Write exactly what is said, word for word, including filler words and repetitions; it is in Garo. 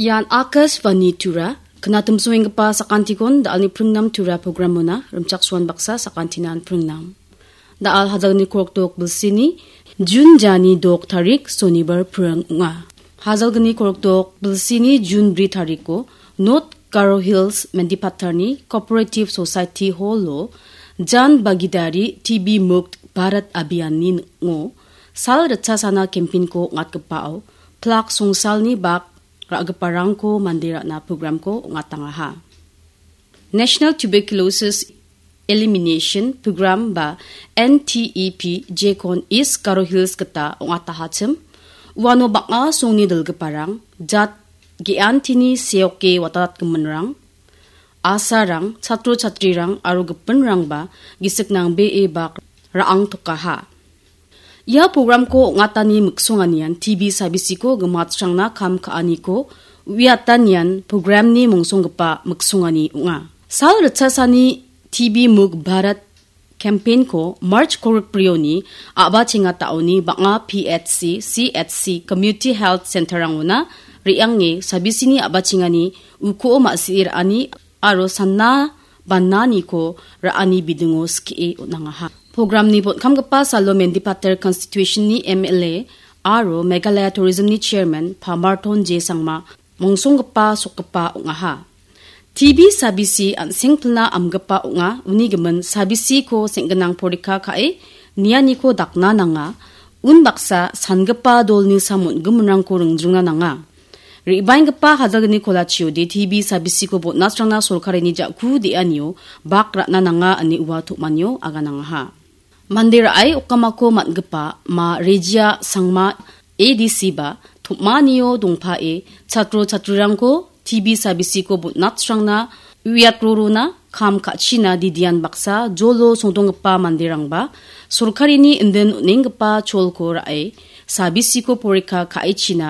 Ian Akashvani Tura, knatimsoenggipa sakantikon da·alni pringnam Tura programona rimchaksoan baksa sakantinan pringnam. Da·al hajalni korokdok bilsini Jun jani dok tarik sonibar pring ong·a. Hajalgni korokdok bilsini Jun bri tariko North Garo Hills Mendipatarni Cooperative Society Hallo Jan Bagidari T B Mukt Bharat Abhiyanni ning·o sal ritchasana campaignko ong·atgipao plak songsalni bak ra·giparangko mande ra·na programko ong·atangaha. National Tuberculosis Elimination Program ba N T E P jekon East Garo Hills gita ong·atahachim. Uano bang·a songni dilgiparang, jat ge·antini seoke watatgiminrang, asarang, chatro chatrirang aro gipinrangba gisik nangbee bak ra·angtokaha. Ia programko ong·atani miksonganian T B sabisiko gimatsrangna kam ka·aniko uiatanian programni mongsonggipa miksongani ong·a. Sal ritchasani T B Mukt Bharat campaignko March korikbrioni a·bachengataoni bang·a P H C, C H C, Community Health Centerrangona re·ange sabisini a·bachengani uko ma·sie ra·ani aro sanna bananiko ra·ani bidingo skie on·angaha. Programni botkamgipa salo Mendipatar Constitutionni M L A aro Meghalaya Tourismni Chairman Pamarton J Sangma mongsonggipa sokgipa ong·aha. T B sabisi an·sengpilna amgipa ong·a, uni gimin sabisiko seng·ginang porikka ka·e nianiko dakna nanga, unbaksa sangipa dolni sam on·giminrangko ringjringna nanga. Re·baenggipa hajalgni kolachiode T B sabisiko botnasrangna sorkarini ja·ku de·anio bak ra·na nanga ine ua tom·anio aganangaha. Mande ra·e okamako man·gipa Ma Rejia Sangma A D C ba tom·anio dongpae chatro chatrirangko T B sabisiko botnasrangna uiatrorona kam ka·china didian baksa jolo songdonggipa manderangba sorkarini indin on·enggipa cholko ra·e sabisiko porikka ka·echina